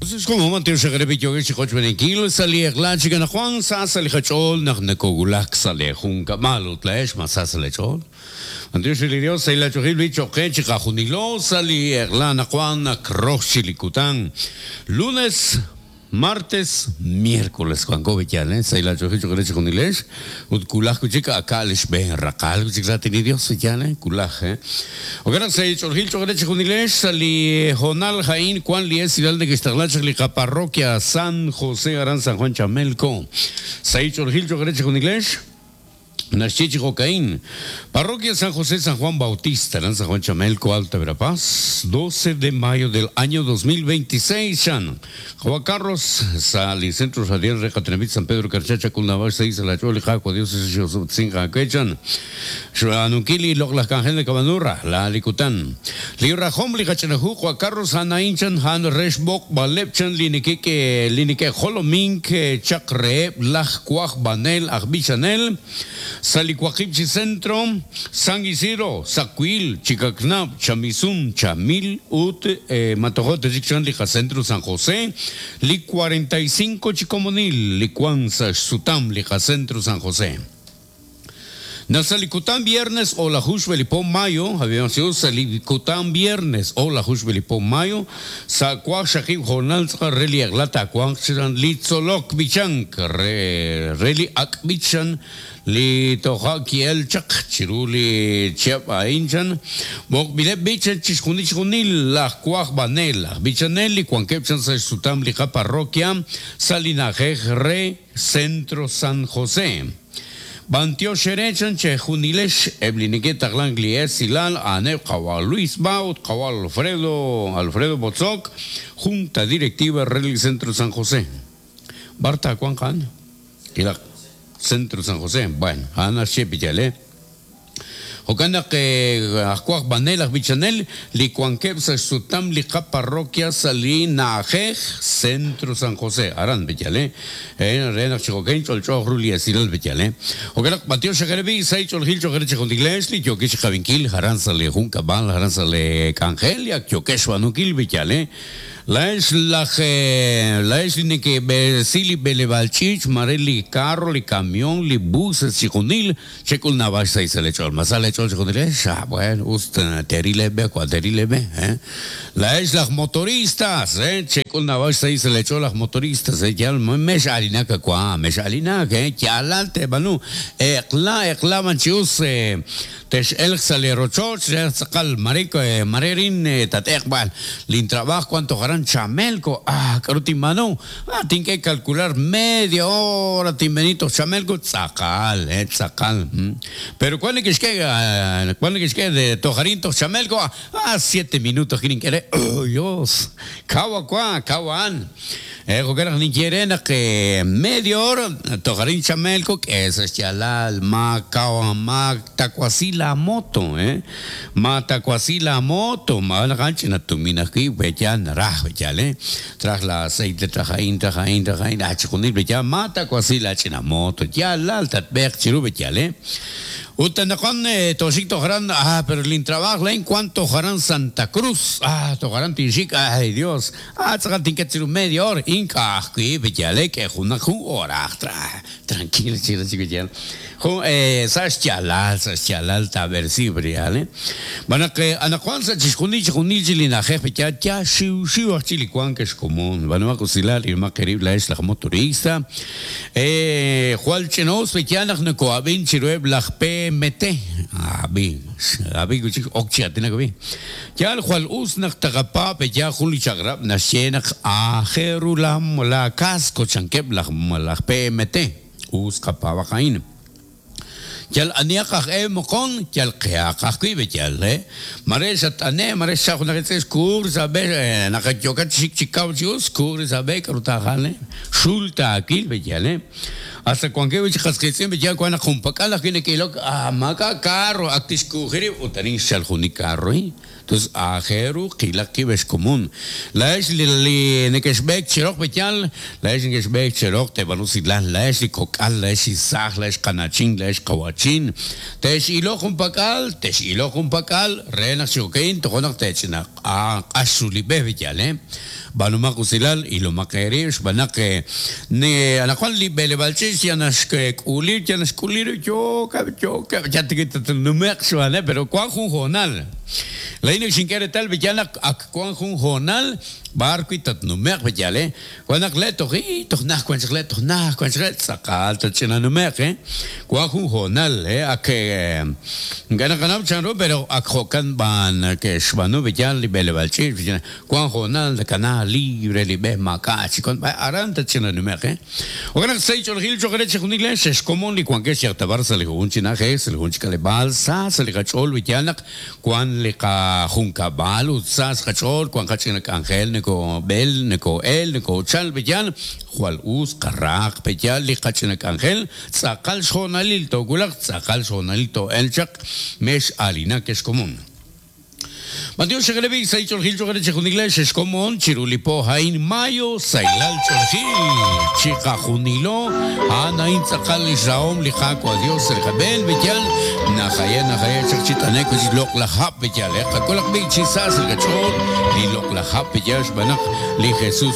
Xkomon b'antiox re li yookeb' chi qochb'eeninkil sa' li eq'la chik anaqwan sa sa' li qach'ool naq nakowulak sa' lee junkab'al ut laa'ex ma sa sa' lee ch'ool? B'antiox re li Dios sahil aach'oolil b'i' cho'q qe chiqajunilo sa' li eq'la anaqwan ak rox chik li kutan lunes Martes, miércoles wanko wi' yaal, sahil aach'oolil cho'q re chixjunilex, ut wulaj wi' chik aka' li xb'een raqal wi' chik raatin li Dios wi' yaal, wulaj. Jo'kan naq sahil ch'oolejil cho'q re chixjunilex, sa' li hoonal a'in wank li esilal neke'xtaqla chaq li qaparroquia San José aran San Juan Chamelco. Sahil ch'oolejil cho'q re chixjunilex. Naxye chi jo'ka'in, Parroquia San José San Juan Bautista, aran San Juan Chamelco, Alta Verapaz, 12 de mayo del año 2026, chan. Qawa' Carlos, sa' li Centro Radial re qatenamit San Pedro Carchá, Chak'ulnab'ax sa' Isla Ch'ool li Qaawa' Dios xe'osob'tesink aawe, chan. Xb'aanunkil li loq'laj k'anjel nakab'aanu rajlal li kutan. Li rajom li qach'ina hu Qawa' Carlos a'an a'in, chan, a'an re xb'oqb'aleb' chan li neke'k'e li neke'jolomink chaq reheb' laj wajb'anel aj b'ichanel sa' li waqib' chi centro, San Isidro, Sakwil, Chikaknab', Chamisun, Chamil ut ma tojo' ta chik chan li qacentro San José, li 45 chi komonil li wank sa' xsutam li qacentro San José. Naq sa' li kutan viernes o'laju xb'e li po mayo, sa' li kutan viernes o'laju xb'e li po mayo, sa' waqxaqib' hoonal tz'aqal re li eq'la taawanq chiran li tzolok b'ichank re re li ak' b'ich chan li toja' ki'el chaq chiru li chihab' a'in chan b'oqb'ileb' b'ich chixjunil chixjunil laj wajb'anel aj b'ichanel li wankeb' chan sa' xsutam li qaparroquia sa' li na'ajej re Centro San José. B'antiox eere chan chejunilex eb' li neke'taqlank li esilal a'aneb' qawa' Luis Ba ut qawa' Alfredo Alfredo Botzoc, Junta Directiva re li Centro San José. B'ar taawanq a'an? Ilaq Centro San José. Bueno, a'an naxye piyal, eh. Jo'kan naq aj wajb'anel aj b'ichanel li wankeb' sa' xsutam li qaparroquia sa' li na'ajej Centro San José, aran B'eyale, re naq chi jo'kan ch'olch'ooq ru li esilal B'eyale. Jo'kan naq b'antiox xaq eere b'i' sa' ch'oolejil cho'q eere chi jun iglees li yookex chi qavinkil aran sa' li junkab'al, aran sa' li k'anjel li ak yookex xb'aanunkil B'eyale. Laa'ex laj laa'ex li neke'b'eresi li b'eleb'aal ch'iich' mare li carro, li camión, li buses chixjunil, Chek'ul naab'al xsahil sa' leech'ool. Ma sa leech'ool chejunilex? Ah, bueno, us teeril eeb'e, wa' teeril eeb'e, eh. Laa'ex laj motoristas, eh, chek'ul naab'al xsahil sa' leech'ool laj motoristas, eh, yal mex'aalinak wa', mex'aalinak, eh, yaalal teeb'aanu. Eq'la, eq'la b'an chi us, eh, tex'elq sa' lee rochoch, re tz'aqal mare, mare arin tat'eeq b'an. Lin trabajo wan toj aran Chamelco, ah, k'a'ru tinb'aanu? Ah, tink'e calcular media hora tinb'eni toj Chamelco, tz'aqal, eh, tz'aqal. Pero wan neke'xk'e, wan neke'xk'e de toj arin toj Chamelco, ah, siete minutos ajwi' nink'e re, oh Dios, kaw wa, kaw a'an. Eh, jo'kan naq ninye re naq media hora toj arin Chamelco, k'e sa' xyaalal, ma kaw, ma takuasi la moto, eh. Ma takuasi la moto, ma naq a'an ch'ina tumin ajwi', we yaal naraj, we yaal, eh. Traj la aceite, traj a'in, traj a'in, traj a'in, ah chixjunil be yaal, ma takuasi la ch'ina moto, yaalal tatb'eeq chiru be yaal, eh. Ut anaqwan tooxik toj aran, ah pero lin trabajo laa'in wank toj aran Santa Cruz, ah toj aran tinxik, ay Dios, ah tz'aqal tinket chiru media hora, ink'a' ajwi' be yaal, eh, k'e junaq jun horaq, tranquilo chiru chik be yaal. Jun sa' xyaalal, sa' xyaalal taab'eresi b'real, eh. Xb'aan naq anaqwan sa' chixjunil chixjunil chi li na'ajej b'eyaal yaal xiwxiw aj chik li wank ex komon. B'aanumaq usilal, ilmaq eerib' laa'ex laj motorista. Jwal ch'ina'us b'eyaal naq noko'ab'in chiruheb' laj PMT. Ab'i, ab'i wi' chik ok chi aatinak ab'i. Yaal jwal us naq taqapaab' b'eyaal jun li chaq'rab' naxye naq aajel ru la casco chankeb' laj PMT. Us qapaab'aq a'in. Yal anihaq aj e moqon, yal qehaq ajwi' b'eyal, e. Mare xatt'ane', mare xchaq junaq li tz'e xkuur sa' b'e, naq yookat chi xik chi kaw chi us, xkuur sa' b'e, k'aru taajal, e. Xul taawil b'eyal, e. Hasta wankeb' wi' chi qas qiitz'in b'eyal wank naq junpak'al ajwi' neke'ilok, ah, maak'a' carro, ak tixkuuji rib' ut arin xchalk jun li carro, e. Tus aajel ru qilaq qib' ex komon. Laa'ex li li nekexb'eek chi roq b'eyal, laa'ex nekexb'eek chi roq teeb'aanu usilal, laa'ex li kok'al, laa'ex li saaj, laa'ex qana'chin, laa'ex qawa'chin, tex'iloq junpak'al, tex'iloq junpak'al, re naq chi jo'ka'in tojo' naq teech'ina q'ax ru li b'e b'eyal, eh. B'aanumaq usilal, ilomaq eerib' xb'aan naq ne anaqwan li b'eleb'aal ch'iich' yal naxk'uli yal naxk'uli rib' yookeb' yookeb' yal tik tatnume'q xb'aaneb' pero wank jun hoonal. Laa'in ak xink'e reetal b'eyal naq ak wank jun hoonal b'ar wi' tatnume'q b'eyal eh. Wan naq le' toj ii toj najt wan chaq le' toj najt wan chaq le' tz'aqal tatch'ina nume'q eh. Wank jun hoonal eh ak ink'a' naqanaw chanru pero ak jo'kan b'an ke'xb'aanu b'eyal li b'eleb'aal ch'iich' Wank hoonal nakana libre li b'e maak'a' chi wank b'ay aran tatch'inanume'q, eh. Jo'kan naq sahil ch'oolejil cho'q re chixjunil eh, xexkomon li wankex yal ta b'ar sa' li jun chi na'ajej, sa' li jun chi k'aleb'aal, sa sa' li qach'ool wi yaal naq wank li qajunkab'al ut sa sa' qach'ool wank qach'ina k'anjel nokoob'el, nokoo'el, nokoochal wi yaal jwal us qarahaq pe yaal li qach'ina k'anjel, tz'aqal xhoonalil toowulaq, tz'aqal xhoonalil too'elq chaq, mex'aalinak ex komon. B'antiox re b'i' sahil ch'oolejil cho'q re chixjunil xexkomon chiru li po a'in mayo sahilal ch'oolejil chiqajunilo a'an a'in tz'aqal li xrahom li Qaawa' Dios sa' li qab'een b'eyal najaye najaye chaq chi t'ane'k wi' chik loq'laj hab' b'eyal qak'ulaq b'i' chi sa sa' li qach'ool li loq'laj hab' b'eyal xb'aan naq li Jesus.